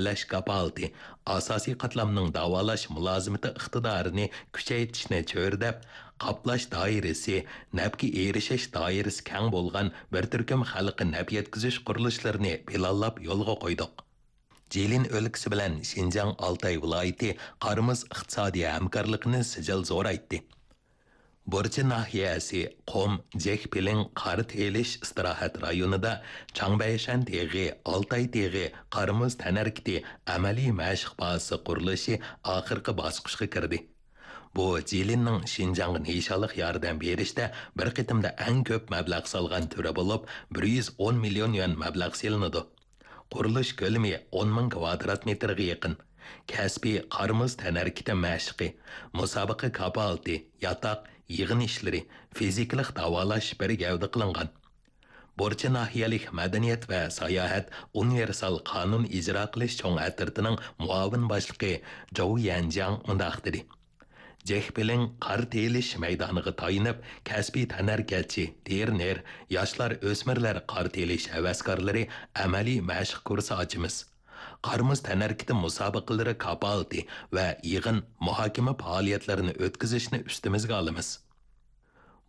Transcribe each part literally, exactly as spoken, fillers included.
تەمىنلەش كاپالىتى، ئاساسىي قاتلامنىڭ داۋالاش مۇلازىمىتى ئىقتىدارىنى كۈچەيتىشنى چۆرىدەپ، قاپلاش دائىرىسى، نەپكە ئېرىشىش دائىرىسى كەڭ بولغان بىر تۈركۈم خەلققە نەپ يەتكۈزۈش قۇرۇلۇشلىرىنى پىلانلاپ يولغا قويدۇق. جىلىن ئۆلكىسى بىلەن شىنجاڭ ئالتاي ۋىلايىتى قارىمىز ئىقتىسادىي ھەمكارلىقىنى سىجىل زورايتتى. بۇرچى ناھىيەسى قۇم جېكپىلىڭ قار تېيىلىش ئىستىراھەت رايونىدا چاڭبەيشەن تېغى، ئالتاي تېغى، قارىمۇز تەنھەرىكىتى ئەمەلىي مەشىق بازىسى قۇرۇلۇشى ئاخىرقى باسقۇچقا كىردى. بۇ جىلىننىڭ شىنجاڭغا نىشانلىق ياردەم بېرىشتە بىر قېتىمدا ئەڭ كۆپ مەبلەغ سالغان تۈرى بولۇپ، بىر يۈز ئون مىليون يۈەن مەبلەغ سېلىنىدۇ. قۇرۇلۇش كۆلىمى ئون مىڭ كۋادرات مېتىرغا يېقىن. كەسپىي قارىمۇز تەنھەرىكىتى مەشىقى، مۇسابىقە كاپالىتى، ياتاق، يىغىن ئىشلىرى، فىزىكىلىق داۋالاش بىر گەۋدە قىلىنغان. بۇرچى ناھىيەلىك مەدەنىيەت ۋە ساياھەت ئۇنىۋېرسال قانۇن ئىجرا قىلىش چوڭ ئەترىتىنىڭ مۇئاۋىن باشلىقى جوۋ يەنجياڭ مۇنداق دېدى: جېكپىلىڭ قار تېيىلىش مەيدانىغا تايىنىپ، كەسپىي تەنھەرىكەتچى، ترېنېر، ياشلار، ئۆسمۈرلەر قار تېيىلىش ھەۋەسكارلىرى ئەمەلىي مەشىق كۇرسى ئاچىمىز. قارىمۇز تەنھەرىكىتى مۇسابىقىلىرى كاپالىتى ۋە يىغىن، مۇھاكىمە پائالىيەتلىرىنى ئۆتكۈزۈشنى ئۈستىمىزگە ئالىمىز.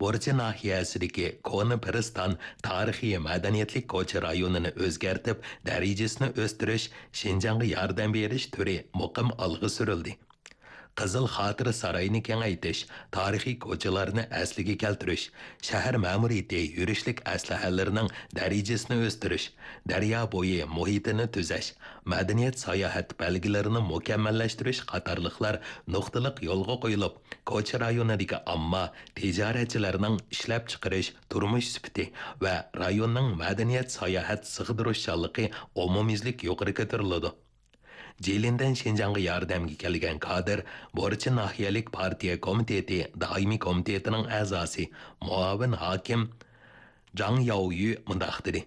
بۇرچى ناھىيەسىدىكى كونا پىرىستان تارىخىي مەدەنىيەتلىك كوچا رايونىنى ئۆزگەرتىپ، دەرىجىسىنى ئۆستۈرۈش شىنجاڭغا ياردەم بېرىش تۈرى مۇقىم ئالغا سۈرۈلدى. قىزىل خاتىرە سارايىنى كېڭەيتىش، تارىخىي كوچىلارنى ئەسلىگە كەلتۈرۈش، شەھەر مەمۇرىيىتى يۈرۈشلۈك ئەسلىھەلىرىنىڭ دەرىجىسىنى ئۆستۈرۈش، دەريا بويى مۇھىتىنى تۈزەش، مەدەنىيەت ساياھەت بەلگىلىرىنى مۇكەممەللەشتۈرۈش قاتارلىقلار نۇقتىلىق يولغا قويۇلۇپ، كوچا رايونىدىكى ئامما، تىجارەتچىلەرنىڭ ئىشلەپچىقىرىش، تۇرمۇش سۈپىتى ۋە رايوننىڭ مەدەنىيەت ساياھەت سىغدۇرۇشچانلىقى ئومۇميۈزلۈك يۇقىرى كۆتۈرۈلىدۇ. جىلىندىن شىنجاڭغا ياردەمگە كەلگەن كادىر بورچى ناھىيەلىك پارتىيە كومىتېتى دائىمىي كومىتېتىنىڭ ئەزاسى، مۇئاۋىن ھاكىم جاڭ ياۋيۈ مۇنداق دېدى: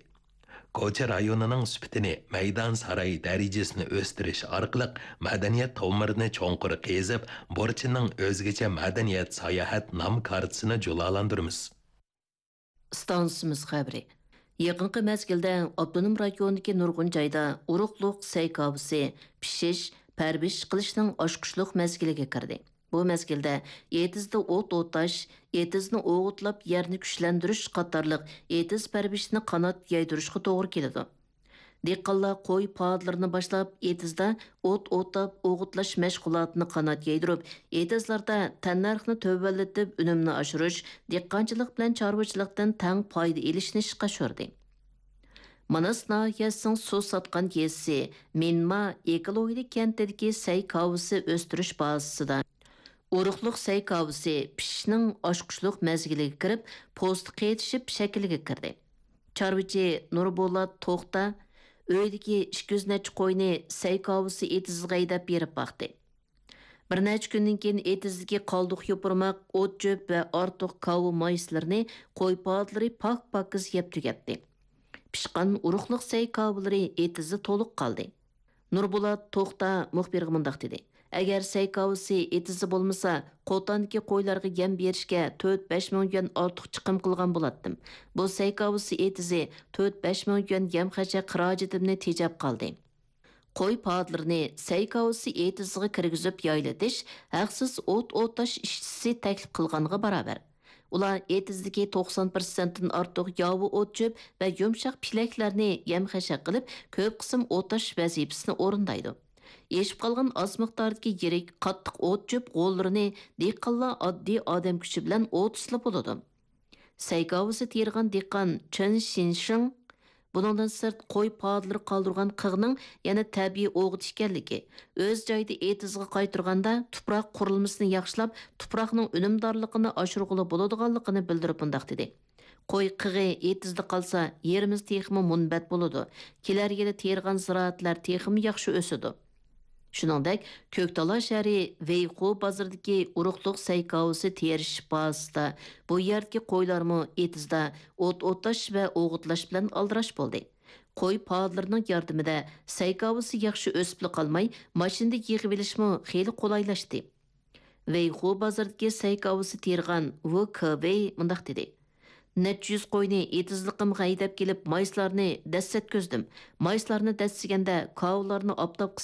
كوچا رايونىنىڭ سۈپىتىنى مەيدان ساراي دەرىجىسىنى ئۆستۈرۈش ئارقىلىق مەدەنىيەت تومۇرىنى چوڭقۇر قېزىپ، بورچىنىڭ ئۆزگىچە مەدەنىيەت ساياھەت نام كارتىسىنى جۇلالاندۇرىمىز. ئىستانسىمىز خەۋىرى. يېقىنقى مەزگىلدە ئاپتونوم رايوندىكى نۇرغۇن جايدا ئۇرۇقلۇق سەي كاۋىسى پىشىش، پەرۋىش قىلىشنىڭ ئاچقۇچلۇق مەزگىلىگە كىردى. بۇ مەزگىلدە ئېتىزدا ئوت ئوتاش، ئېتىزنى ئوغۇتلاپ يەرنى كۈچلەندۈرۈش قاتارلىق ئېتىز پەرۋىشىنى قانات يايدۇرۇشقا توغرا كېلىدۇ. دېھقانلار قوي پادىلىرىنى باشلاپ، ئېتىزدا ئوت ئوتاپ ئوغۇتلاش مەشغۇلاتىنى قانات يايدۇرۇپ، ئېتىزلاردا تەننەرخنى تۆۋەنلىتىپ، ئۈنۈمنى ئاشۇرۇش، دېھقانچىلىق بىلەن چارۋىچىلىقتىن تەڭ پايدا ئېلىشنى ئىشقا ئاشۇردى. ماناس ناھىيەسىنىڭ سۇ ساتقان يېزىسى مىنما ئېكولوگىيە كەنتىدىكى سەي كاۋىسى ئۆستۈرۈش بازىسىدا ئۇرۇقلۇق سەي كاۋىسى پىشىشنىڭ ئاچقۇچلۇق مەزگىلىگە كىرىپ، پوستى قېتىشىپ شەكىلگە كىردى. چارۋىچى نۇربولات توختا ئۆيىدىكى ئىككى يۈز نەچچە قوينى سەي كاۋىسى ئېتىزىغا ھەيدەپ بېرىپ باقتى. بىر نەچچە كۈندىن كېيىن ئېتىزدىكى قالدۇق يوپۇرماق، ئوت-چۆپ ۋە ئارتۇق كاۋا مايسىلىرىنى قوي پادىلىرى پاك-پاكىز يەپ تۈگەتتى. پىشقان ئۇرۇقلۇق سەي كاۋىلىرى ئېتىزدا تولۇق قالدى. نۇربولات توختا مۇخبىرغا مۇنداق دېدى: ئەگەر سەي كاۋىسى ئېتىزدا بولمىسا، قوتاندىكى قويلارغا يەم بېرىشكە تۆت بەش مىڭ يۈەن ئارتۇق چىقىم قىلغان بولاتتىم. بۇ سەي كاۋىسى ئېتىزى تۆت بەش مىڭ يۈەن يەم-خەشەك خىراجىتىمنى تېجەپ قالدى. قوي پادىلىرىنى سەي كاۋىسى ئېتىزىغا كىرگۈزۈپ يايلىتىش ھەقسىز ئوت ئوتاش ئىشچىسى تەكلىپ قىلغانغا باراۋەر. ئۇلار ئېتىزدىكى توقسان پىرسەنتتىن ئارتۇق ياۋا ئوت-چۆپ ۋە يۇمشاق پىلەكلەرنى يەم-خەشەك قىلىپ، كۆپ قىسىم ئوتاش ۋەزىپىسىنى ئورۇندايدۇ. ئېشىپ قالغان ئاز مىقداردىكى يىرىك، قاتتىق ئوت-چۆپ غوللىرىنى دېھقانلار ئاددىي ئادەم كۈچى بىلەن ئوتۇسلا بولىدۇ. سەي كاۋىسى تېرىغان دېھقان چېن شىنشىڭ بۇنىڭدىن سىرت قوي پادىلىرى قالدۇرغان قىغنىڭ يەنە تەبىئىي ئوغۇت ئىكەنلىكى، ئۆز جايىدا ئېتىزىغا قايتۇرغاندا تۇپراق قۇرۇلمىسىنى ياخشىلاپ، تۇپراقنىڭ ئۈنۈمدارلىقىنى ئاشۇرغىلى بولىدىغانلىقىنى بىلدۈرۈپ مۇنداق دېدى: قوي قىغى ئېتىزدا قالسا، يېرىمىز تېخىمۇ مۇنبەت بولىدۇ. كېلەر يىلى تېرىغان زىرائەتلەر تېخىمۇ ياخشى ئۆسىدۇ. شۇنىڭدەك، كۆكتالا شەھىرى ۋېيخۇ بازىرىدىكى ئۇرۇقلۇق سەي كاۋىسى تېرىش بازىسىدا بۇ يەردىكى قويلارمۇ ئېتىزدا ئوت ئوتاش ۋە ئوغۇتلاش بىلەن ئالدىراش بولدى. قوي پادىلىرىنىڭ ياردىمىدە سەي كاۋىسى ياخشى ئۆسۈپلا قالماي، ماشىنىدا يىغىۋېلىشمۇ خېلى قولايلاشتى. ۋېيخۇ بازىرىدىكى سەي كاۋىسى تېرىغان ۋۇ كېۋېي مۇنداق دېدى: نەچچە يۈز قوينى ئېتىزلىقىمغا ھەيدەپ كېلىپ، مايسىلارنى دەسسەتكۈزدۈم. مايسىلارنى دەسسىگەندە، كاۋىلارنى ئاپتاپقا